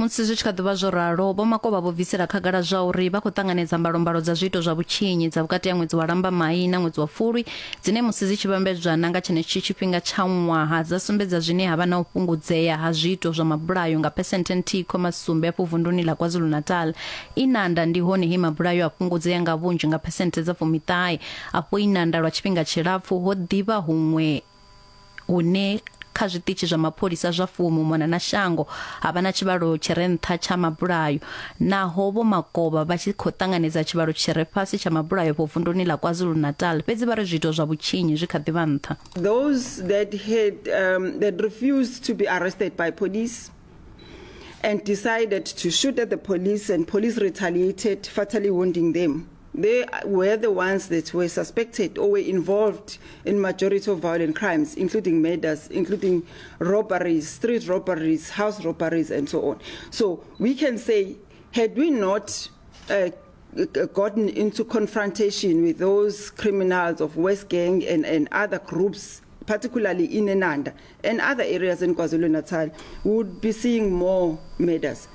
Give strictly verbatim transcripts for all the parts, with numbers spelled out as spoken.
Musi zwi tshi kha ḓivha zwo ralo, Vho Makovha vho bvisela khagala zwa uri vha khou ṱanganedza mbalombalo dza zwiito zwa vhutshinyi dza vhukati ha ṅwedzi wa Lambamai na ṅwedzi wa Fulwi, dzine musi dzi tshi vhambedzwa na nga tshenetshi tshifhinga tsha ṅwaha dza sumbedza zwine ha vha na u fhungudzea ha zwiito zwa mabulayo nga phesenthe nthihi khoma sumbe afho vunduni ḽa KwaZulu-Natal. Inanda ndi hone he mabulayo a fhungudzea nga vhunzhi nga phesenthe dza fumiṱahe. Afho Inanda lwa tshifhinga tshilapfu ho ḓivha huṅwe hune kha zwiṱitshi zwa mapholisa zwa fumi u mona na shango ha vha na tshivhalo tshi re nṱha tsha mabulayo. Naho Vho Makovha vha tshi khou ṱanganedza tshivhalo tshi re fhasi tsha mabulayo afho vunduni ḽa KwaZulu-Natal, fhedzi vha ri zwiito zwa vhutshinyi zwi kha ḓi vha nṱha. Those that had um, that refused to be arrested by police and decided to shoot at the police, and police retaliated, fatally wounding them. They were the ones that were suspected or were involved in majority of violent crimes, including murders, including robberies, street robberies, house robberies, and so on. So we can say, had we not uh, gotten into confrontation with those criminals of West Gang and, and other groups, particularly in Inanda and other areas in KwaZulu-Natal, we would be seeing more murders.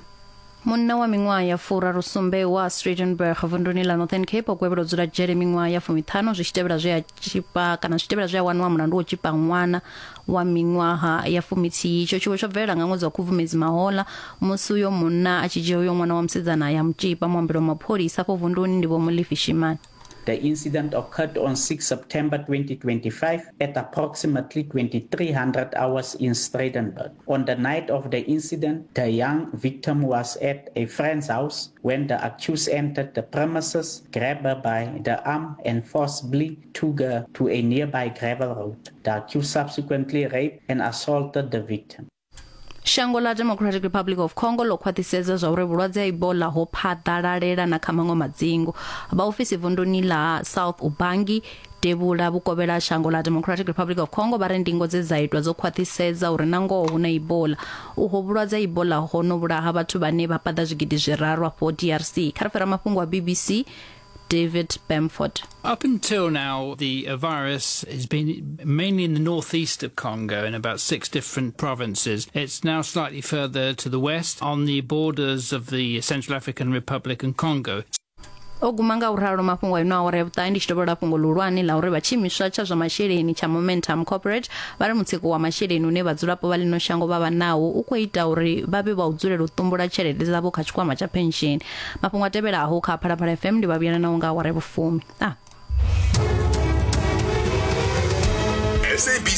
Munna wa miṅwaha ya furaru sumbe wa Streetenburg vunduni ḽa Northern Cape o gwevhelwa u dzula dzhele miṅwaha ya fumiṱhanu zwi tshi tevhela zwe a tshipa kana zwi tshi tevhela zwe a waniwa mulandu wo tshipa ṅwana wa miṅwaha ya fumithihi. Itsho tshiwo tsho bvelela nga ṅwedzi wa Khubvumedzi mahola musi uyo munna a tshi dzhia uyo ṅwana wa musidzana ya mutshipa. Muambeli wa mapholisa afho vunduni ndi Vho Molefi Shimane. The incident occurred on six September twenty twenty-five at approximately twenty-three hundred hours in Streetenburg. On the night of the incident, the young victim was at a friend's house when the accused entered the premises, grabbed her by the arm and forcibly took her to a nearby gravel road. The accused subsequently raped and assaulted the victim. Shango ḽa Democratic Republic of Congo ḽo khwaṱhisedza zwa uri vhulwadze ha Ebola ho phaḓalalela na kha maṅwe madzingu. Vhaofisi vunduni ḽa South Ubangi devhula vhukovhela shango ḽa Democratic Republic of Congo vha ri ndingo dze dza itwa dzo khwaṱhisedza uri na ngoho hu na Ebola. Uho vhulwadze ha Ebola ho no vhulaha vhathu vhane vha paḓa zwigidi zwiraru afho D R C. Kha ri fhira mafhungo a B B C, David Bamford. Up until now, the uh, virus has been mainly in the northeast of Congo in about six different provinces. It's now slightly further to the west on the borders of the Central African Republic and Congo. O guma nga u ralo mafhungo ino awara ya vhuṱahe ndi tshi tovhola fhungo ḽihulwane ḽa uri vha tshiimiswa tsha zwa masheleni tsha Momentum Corporate vha ri mutsiko wa masheleni une vhadzulapo vha ḽino shango vha vha nawo u khou ita uri vha vhe vha u dzulela u ṱumbula tshelede dzavho kha tshikwama tsha pension. Mafhungo a tevhelaho kha Phalaphala F M ndi vha vhuyela nawo nga awara ya vhufumi. Ah. S A B C